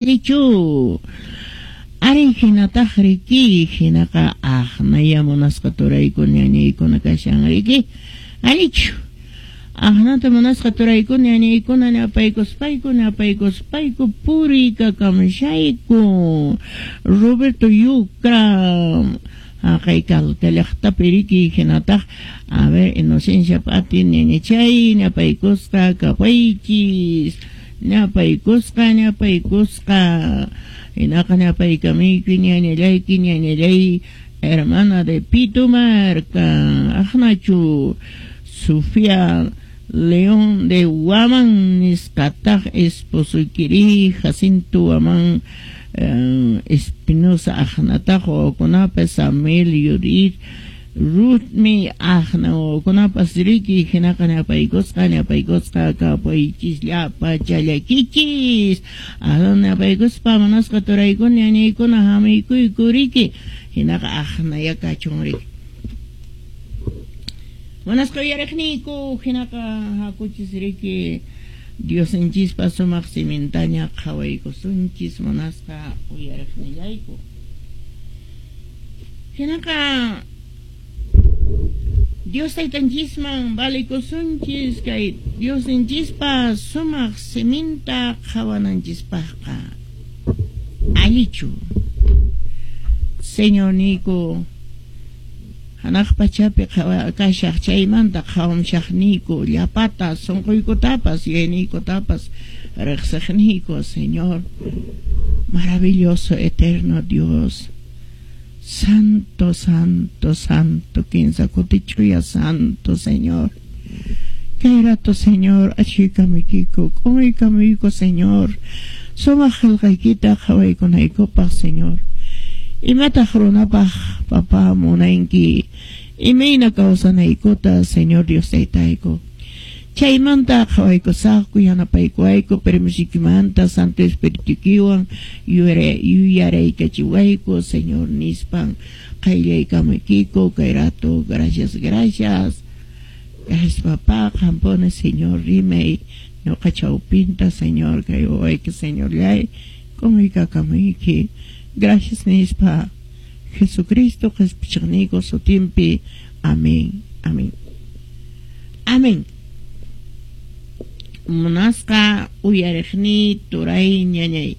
Richu. Ari hinataq riki, hinaqa aqnaya munasqa turaykuna ñañaykuna kashan riki. Allichu. Aqnata munasqa turaykuna ñañaykuna ñapaykuspayku ñapaykuspayku puriykakamshayku. Roberto Yucra haqay Calca llaqtapi riki hinataq a ver Inocencia Pati ñañachay ñapaykusqa kapaychis. Ñapaykusqa, ñapaykusqa. Hinaqa ñapaykamiyki ñañallayki ñañallay hermana de Pitumarca. Aqnachu Sofía León de Guamán nisqataq esposoykiri Jacinto Guamán Espinosa aqnataq wawakunapas Samuel Yudit Ruthmi aqna wawakunapas riki hinaqa ñapaykusqa ñapaykusqa kapaychis llapa challakichis aqna ñapaykuspa munasqa turaykuna ñañaykuna hamiykuyku riki hinaqa aqnaya kachun riki. Munasqa uyariqniyku hinaqa hakuchis riki Diosninchispa sumaq simintaña qhawaykusunchis munasqa uyariqnillayku. Hinaqa Dios Taytanchisman valikusunchis kay Diosninchispa sumaq siminta qhawananchispaqqa. Allichu. Señorniyku, hanaq pachapi kashaq chaymanta qhawamshaqniyku llapata sunquykutapas yuyayniykutapas riqsiqniyku, Señor, maravilloso eterno Dios. Santo, santo, santo, kinsa kuti ch'uya santo, Señor. Kay rato, Señor, achhuykamuykiku, k'umuykamuyku, Señor. Sumaq qillqaykita qhawaykunaykupaq, Señor. Imataq runapaq, papá, munanki imayna kawsanaykuta, Señor Dios Taytayku. Chaymanta qhawaykusaqku, yanapaykuwayku, permisoykimanta Santo Espiritukiwan yuyaraykachiwayku, Señor, nispan qayllaykamuykiku kay rato. Gracias, gracias. Gracias, papá, qampuni, Señor, rimay ñuqa chawpinta, Señor, kay wawayki, Señorllay, k'umuykakamuyki. Gracias nispa Jesucristo qhispichiqniyku sutinpi. Amén. Amén. Amén. Munasqa uyariqniy turay ñañay.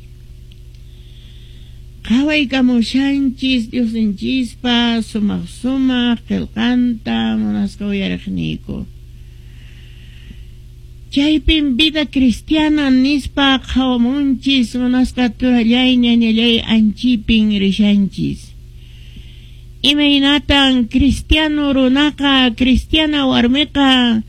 Qhawaykamushanchis Diosninchispa sumaq sumaq qillqanta munasqa uyariqniyku. Chaypin vida cristiana nispa qhawamunchis munasqa turallay ñañallay anchipin rishanchis. Imaynatan cristiano runaqa, cristiana warmiqa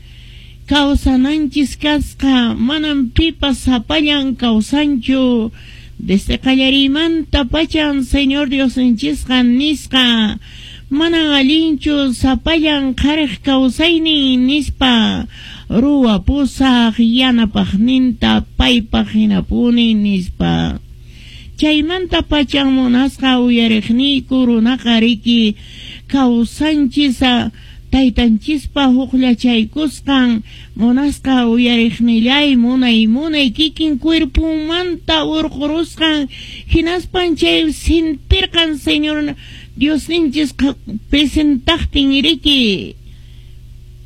kawsananchis kasqa, manan pipas sapallan kawsanchu. Desde qallariymanta pachan Señor Diosninchisqa nisqa, manan allinchu sapallan qhariq kawsaynin nispa, ruwapusaq yanapaqninta paypaq hinapuni nispa. Chaymanta pachan munasqa uyariqniyku runaqa riki kawsanchis taytanchispa hukllachaykusqan munasqa uyariqnillay munay munay kikin cuerponmanta urqurusqan hinaspan chay sintirqan Señor Diosninchis presentaqtin riki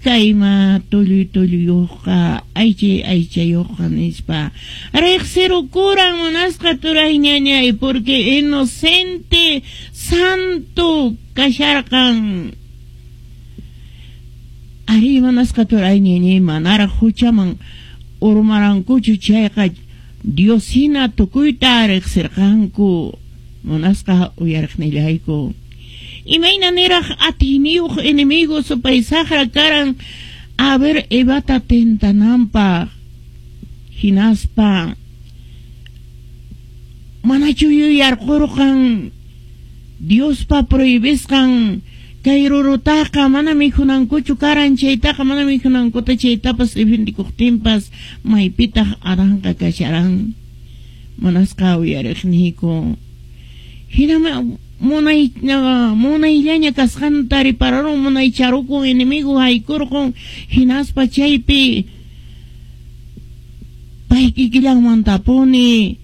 kayma tulluy tulluyuqqa aychay aychayuqqa nispa riqsirukuran munasqa turay ñañay porque inocente santo kasharqan. Ari munasqa turay ñañay manaraq huchaman urmarankuchu chayqa Dios hina tukuyta riqsirqanku munasqa uyariqnillayku. Imayna niraq atiyniyuq enemigo supay saqra karan a ver Evata tentananpaq hinaspa manachu yuyarqurqan Diospa prohibisqan kay rurutaqa mana mikhunankuchu karan chaytaqa mana mikhunankuta chaytapas defendikuqtinpas maypitaq Adanqa kasharan munasqa uyariqniyku. Hinama munayllaña kasqanta ripararun munaycharukun enemigo haykurqun hinaspa chaypi pay kikillanmantapuni